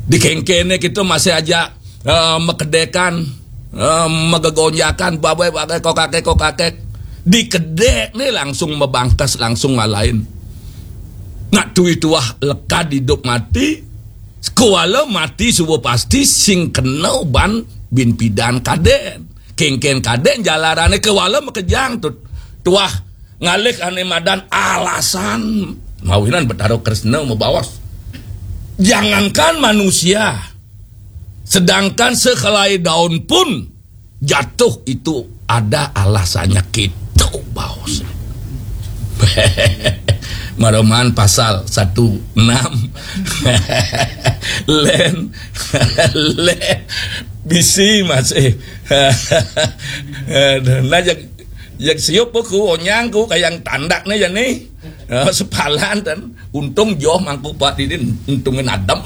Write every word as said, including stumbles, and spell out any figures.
Di kéngkéné kita masih aja eh, makedékan, eh, magegonjakan, babai-babai, kokakek-kokakek. Di kedék né langsung mabangkes, langsung ngalahin. Nak tui tuah lekad idup mati, kuala mati suba pasti sing kena ban bin pidan kadén. Kéngkén kadén jalarané kuala makejang tu. Tuah ngalih ané madan alasan. Mawinan Betara Kresna mabaos. Jangankan manusia, sedangkan sehelai daun pun jatuh itu ada alasannya, gitu baos. Maroman pasal satu enam. Lén, lén, bisi masih. Aduh, nah, jak, jak siup ku, onyang ku, kayang tandak né ya nih. Oh, sepalan dan untung joh mangku Pak Didin, untungin adem.